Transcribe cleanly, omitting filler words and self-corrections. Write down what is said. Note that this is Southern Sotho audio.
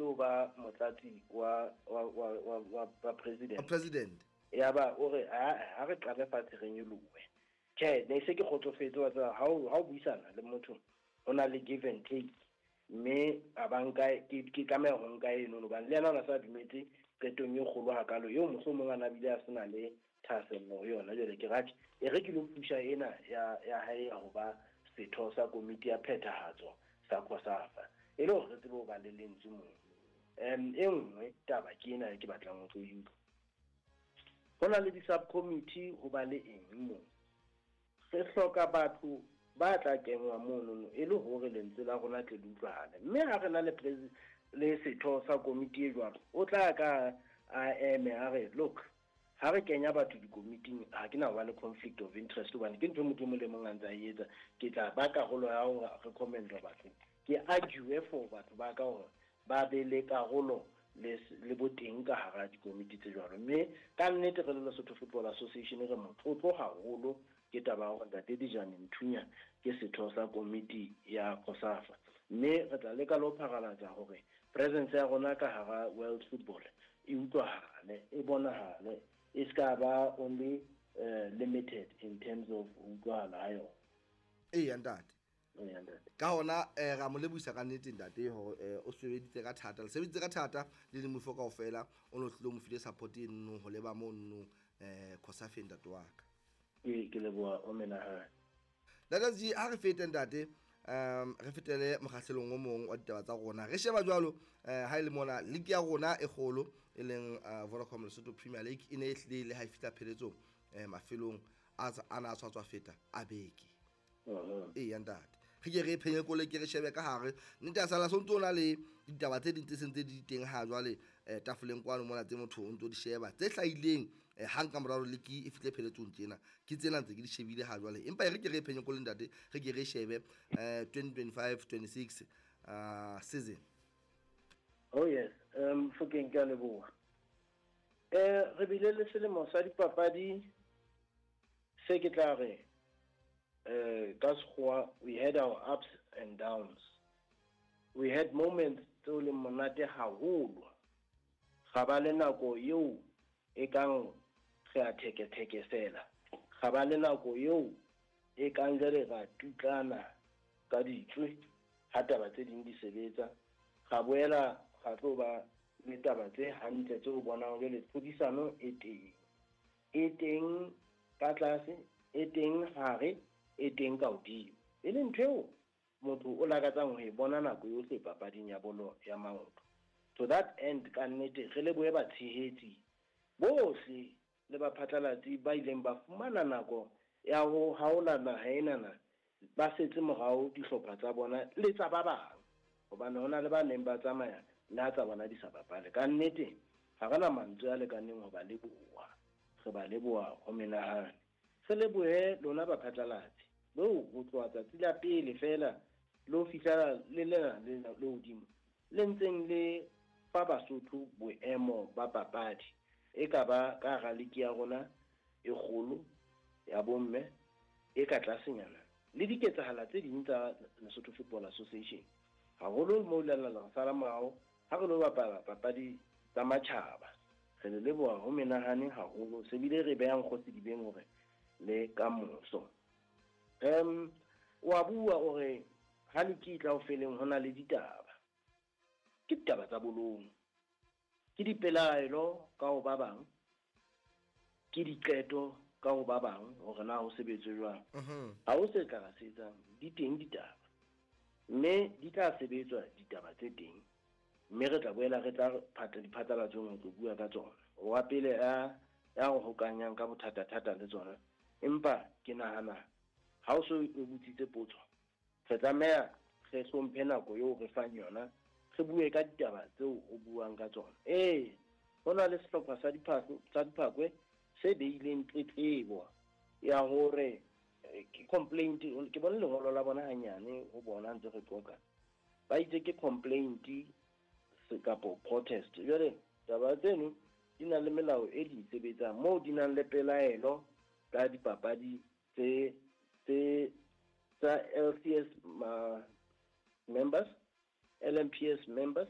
ho ba motlatsi wa wa wa wa wa, wa president. President. Yaba o re ha re qale fatshe re nyolohe. Tjhe, ne se ke kgotsofetse wa tseba ha o buisana le motho ho na le give and take, mme a ba nka ke tlameha ho nka eno hobane le yena o na sa dumetse qetong e kgolo hakalo eo mohlomong a na bile a sena le thahasello ho yona. Jwale ke ratjhe e re ke lo pusha ena ya hae ya ho ba setho sa komiti ya phethahatso sa COSAFA e le hore re tsebe ho ba le lentswe moo. E nngwe taba ke ena e ke batlang ho tlo e utlwa. Ho na le di-subcommittee, ho ba le eng moo. Re hloka batho ba tla kenngwa monono e le hore lentswe la rona tle le utlwahale. Mme ha re na le le setho sa komiti e jwalo, o tla ka a eme a re, look, ha re kenya batho dikomiting ha ke na ho ba le conflict of interest hobane ke ntho e motho e mong le mong a ntse a e etsa. Ke tla ba karolo ya hore recommend batho, ke argue for batho ba ka hore ba be le karolo le boteng ka hara dikomiti tse jwalo. Mme ka nnete re le Lesotho Football Association re motlotlo haholo ke taba ya hore Ntate Dijane Nthunya ke setho sa komiti ya COSAFA. Mme re tla leka le ho pharalatsa hore presence ya rona ka hara world football e utlwahale, e bonahale, e ska ba only limited in terms of ho utlwahala ha yona. Eya ntate. Ka hona ra mo lebohisa ka nnete ntate hore o sebeditse ka thata, le sebeditse ka thata le le mofo kaofela, o no tlile o mo file support e nno ho leba mo nno COSAFA ntate wa ka. Ke leboha o menahane. Ntate G, ha re fete ntate, re fetele mokgahlelong o mong wa ditaba tsa rona. Re sheba jwalo ha e le mona league ya rona e kgolo e leng Vodacom Lesotho Premier League e ne e hlile le ha e fihla pheletsong mafelong a na a tshwatswa feta a beke. Eya ntate, re ke re phenye kole ke re shebe ka hare nnete ya sala sontso o na le ditaba tse ding tse seng tse di teng ha jwale tafoleng kwano mona tse motho o ntso di sheba tse hlahileng hang ka morao league e fihle pheletsong tjena ke tsena ntse ke di shebile ha jwale, empa e re ke re phenye kole ntate, re ke re shebe 2025-26 season. Oh yes, Mofokeng ke a leboha. Re bile le selemo sa dipapadi se ke tla re ka sekgowa we had our ups and downs. We had moments tseo leng monate haholo. Ga ba le nako eo e kang re a thekethekesela. Ga ba le nako eo e kang jwale ra tutlana ka ditswe ha taba tse ding di sebetsa. Ga boela ga tlo ba le taba tse hantle tseo bonang jwale tlhodisano e teng. E teng ka tlase, e teng hare, e teng ka hodimo. E leng ntho eo motho o lakatsang ho e bona nako yohle papading ya bolo ya maoto. To that end, ka nnete re lebohe batshehetsi bohle le baphatlalatsi ba ileng ba fumana nako ya ho haola naha enana, ba setse morao dihlopha tsa bona le tsa ba bang, hobane hona le ba neng ba tsamaya le ha tsa bona di sa bapale. Ka nnete ha re na mantswe a lekaneng ho ba leboha, re ba leboha ho menahane. Re lebohe lona baphatlalatsi beo ho tloha tsatsi la pele fela le ho fihlela le lena le hodimo le ntseng le fa Basotho boemo ba papadi e ka ba ka hara league ya rona e kgolo ya bomme e ka tlasenyana le diketsahala tse ding tsa Lesotho Football Association, haholo mo le la sala morao ha re lo bapala papadi tsa matjhaba. Re le leboha ho menahane haholo, se bile re behang kgosi dibeng hore le ka moso. Wa bua o re ha le ke tla ho feleng ho na le ditaba. Ke ditaba tsa bolong, ke dipelaelo ka ho ba bang, ke diqeto ka ho ba bang hore na ho sebetswe jwang. Ha ho se tla se etsang, di teng ditaba, mme di tla sebetswa ditaba tse teng, mme re tla boela re tla diphatlalatsong ho tlo bua ka tsona. Wa pele ya ho hokanyang ka bothata-thata le tsona, empa ke nahana ha o so o botsitse potso, re tlameha re hlomphe nako eo re fang yona, re bue ka ditaba tseo o buang ka tsona. Ee, ho na le sehlopha sa diphakwe se beileng tletlebo ya hore ke complaint, ke bone lengolo la bona hanyane ho bona ntse re qoqa, ba itse ke complaint kapo protest. Jwale taba tseno di na le melao e di sebetsang moo di nang le pelaelo ka dipapadi tse tsa LCS members, LMPS members